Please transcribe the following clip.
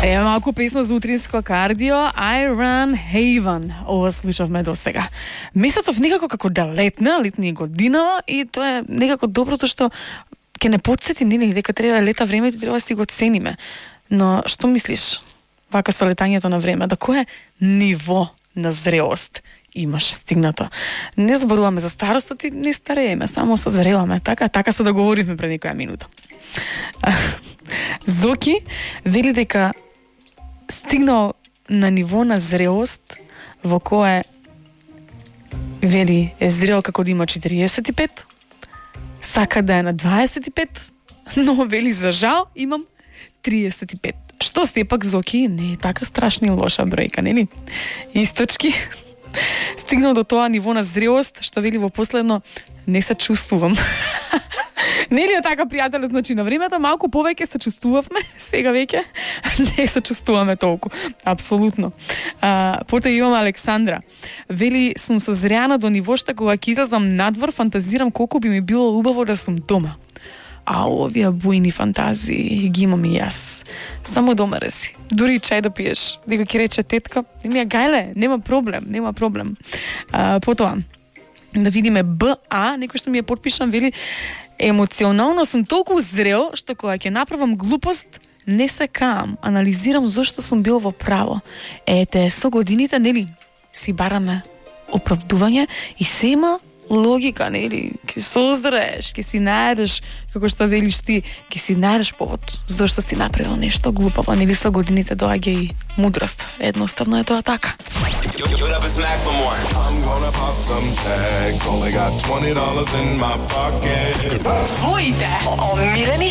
Е, малку песна за утринско кардио, I Run Haven. Ова слушавме до сега. Месецов некако како да летни година и тоа е некако доброто што ќе не подсети нели дека треба лета времето, треба да си го цениме. Но што мислиш? Вака со летањето на време, до кое ниво на зрелост имаш стигнато? Не зборуваме за старостот и не старееме, само созреваме. Така се договоривме пред некоја минута. Зоки вели дека стигнал на ниво на зрелост во кое вели е зрел како да има 45, сака да е на 25, но вели за жал имам 35. Што сепак Зоки не е така страшна и лоша бројка, нели? Источки стигнал до тоа ниво на зрелост што вели во последно не се чувствувам. Нели е така, пријателе, значи на времето малку повеќе се чувствувавме, сега веќе не се чувствуваме толку. Апсолутно. Потоа имаме Александра. Вели, сум созреана до ниво што кога ќе излезам надвор, фантазирам колку би ми било убаво да сум дома. А овие бујни фантазии ги имам и јас. Само дома си. Дури чај да пиеш. Дека ќе рече тетка, ми ја гајле, нема проблем. Потоа да видиме БА, некој што ми е подпишан, вели, емоционално сум толку зрел што кога ќе направам глупост не се каам, анализирам зошто сум бил во право. Ете, со годините, нели, си бараме оправдување и се има логика, нели, ќе созрееш, ќе си најдеш, како што велиш ти, ќе си најдеш повод зошто си направил нешто глупаво, нели, со годините доаѓа и мудрост. Едноставно е тоа така. Твоите омилени